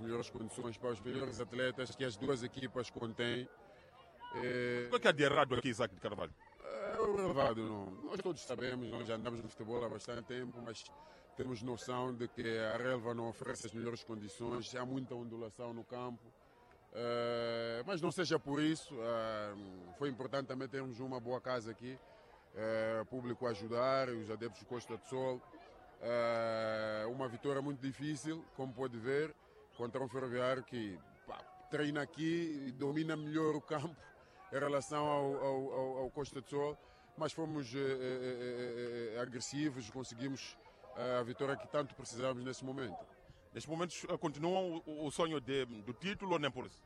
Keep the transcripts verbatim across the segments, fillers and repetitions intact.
melhores condições para os melhores atletas que as duas equipas contêm. O que é que há de errado aqui, Isaac de Carvalho? É o relevado, não. Nós todos sabemos, nós já andamos no futebol há bastante tempo, mas temos noção de que a relva não oferece as melhores condições, há muita ondulação no campo. Uh, mas não seja por isso, uh, foi importante também termos uma boa casa aqui, uh, público a ajudar, os adeptos do Costa do Sol. Uh, uma vitória muito difícil, como pode ver, contra um Ferroviário que pá, treina aqui e domina melhor o campo em relação ao, ao, ao, ao Costa do Sol, mas fomos eh, eh, eh, agressivos, conseguimos a vitória que tanto precisávamos nesse momento. Neste momento continuam o, o sonho de, do título ou nem por isso?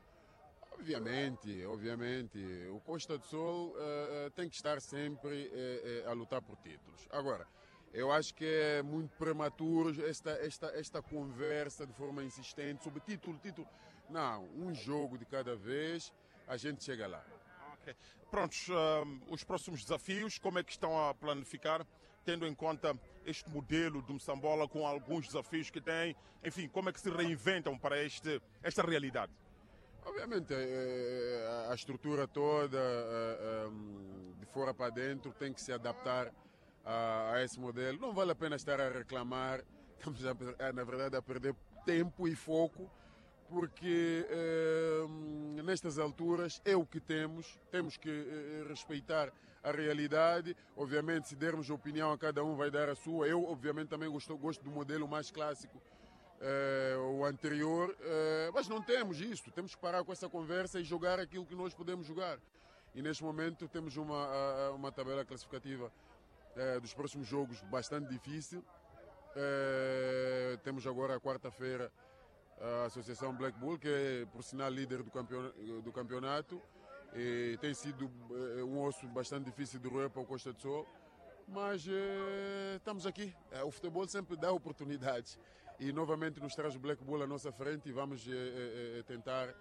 Obviamente, obviamente. O Costa do Sol eh, tem que estar sempre eh, a lutar por títulos. Agora, eu acho que é muito prematuro esta, esta, esta conversa de forma insistente sobre título, título. Não, um jogo de cada vez, a gente chega lá. Okay. Prontos, um, os próximos desafios, como é que estão a planificar, tendo em conta este modelo do Moçambola com alguns desafios que tem, enfim, como é que se reinventam para este, esta realidade? Obviamente, a estrutura toda, de fora para dentro, tem que se adaptar a esse modelo. Não vale a pena estar a reclamar, estamos, a, na verdade, a perder tempo e foco, porque eh, nestas alturas é o que temos, temos que eh, respeitar a realidade. Obviamente, se dermos opinião a cada um, vai dar a sua. Eu, obviamente, também gosto, gosto do modelo mais clássico, eh, o anterior, eh, mas não temos isso, temos que parar com essa conversa e jogar aquilo que nós podemos jogar. E neste momento temos uma, uma tabela classificativa eh, dos próximos jogos bastante difícil. Eh, temos agora a quarta-feira a Associação Black Bull, que é, por sinal, líder do, campeon do campeonato, e tem sido um osso bastante difícil de roer para o Costa do Sol, mas eh, estamos aqui. O futebol sempre dá oportunidades e novamente nos traz o Black Bull à nossa frente e vamos eh, eh, tentar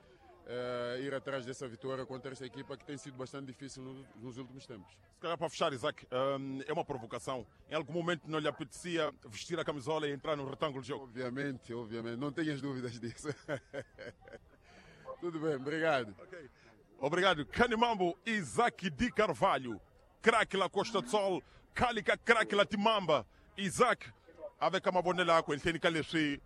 eh, ir atrás dessa vitória contra esta equipa que tem sido bastante difícil no, nos últimos tempos. Se calhar para fechar, Isaac, hum, é uma provocação. Em algum momento não lhe apetecia vestir a camisola e entrar no retângulo de jogo? Obviamente, obviamente. Não tenhas dúvidas disso. Tudo bem, obrigado. Okay. Obrigado. Canimambo, Isaac de Carvalho. Craque la Costa do Sol, Calica craque la Timamba. Isaac, avec a mavonelo yakwe enhleni ka leswi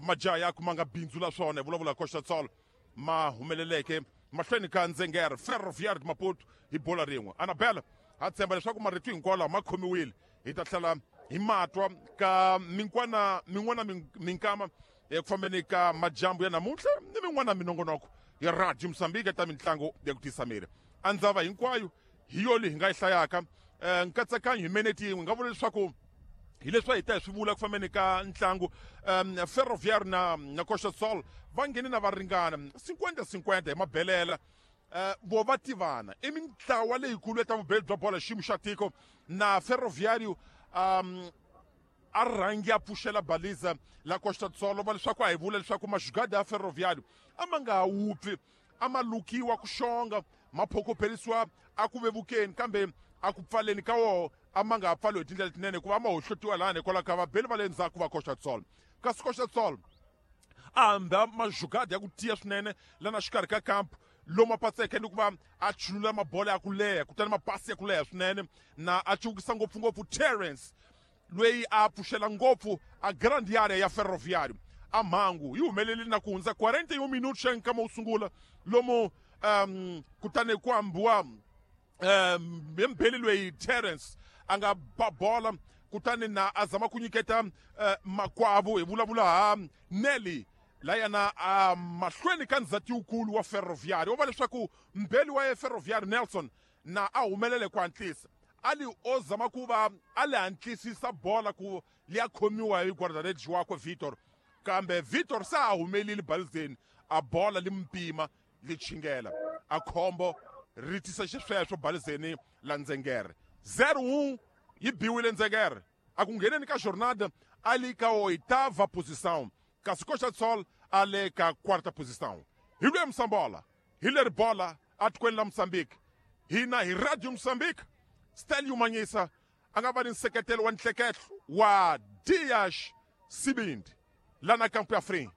majaha yakwe ma nga bindzula swona hi vulavula Costa do Sol ma humeleleke mahlweni ka Ndzengere Ferroviário de Maputo hi bola rin'we. Anabela ha tshemba leswaku marito hinkwawo lawa ma khomiwile, hi ta tlhela hi matwa ka minkwana min'wana minkama eku fambeni ka majambu ya namuntlha ni min'wana minongonoko ya Radio Mozambique ta mitlangu ya ku tisa miri. A ndzava hinkwayo hi yo leyi hi nga yi hlayaka nkatsakanyo hi minete yin'we, nga vula leswaku hi leswi hi ta hi swi vula ku fambeni ka ntlangu um, Ferroviário na, na Costa do Sol va nghene na va ringana cinquenta cinquenta hi mabelela. Uh, vo va tivana i mintlawa leyikulu ta vubeli bya bola xiyimo xa tiko na Ferroviário um, a rhangi a pfuxela baliza la Costa do Sol va leswaku a hi vula leswaku maxugada ya Ferroviário a ma nga ha wupfi, a ma lukiwa ku xonga, ma phokopherisiwa a ku vevukeni kambe a ku pfaleni ka woho a ma nga ha pfaliwi hi tindlela tinene hikuva a ma hohlotiwa lani hikwalaho ka vabeli va le ndzhaku va Costa do Sol. Kasi Costa do Sol a hamba maxugada ya ku tiya swinene lana xikarhi ka kampu lomu a patseke ni ku va a chulula mabola ya ku leha kutani mapasi ya ku leha swinene na a cuvukisa ngopfungopfu Terence loyi a pfuxela ngopfu a grand area ya Ferroviário. A mhangu yi humelele na ku hundza quarenta e um minutos xa nkama wo sungula lomu um, kutani ku ambiwa um, mbeli loyi Terence a nga ba bola kutani na a zama ku nyiketa uh, makwavo hi vulavula ha Nelly layana a mahlweni ka ndzhati wukulu wa Ferroviário. Wo va leswaku mbeli wa Ferroviário Nelson na a humelele ku hatlisa a li o zama ku va a li hatlisisa bola ku liya khomiwa hi guarda-redes wakwe Vitor, kambe Vitor se a humelile balizeni a bola li mpima li chingela a khombo ri tisa xisweswo balizeni la Ndzengere. zero um yi biwile Ndzengere a ku ngheneni ka jornada a li ka oitava posição, kasi Costa do Sol a le ka quarta posição. Hi lwe Moçambola, hi leri bola atikweni la Mozambique, hina hi Radio Mozambique. Stelio Manyisa a nga va ni nseketelo wa nhleketlo wa Dias Sibindi lana kampu ya Free.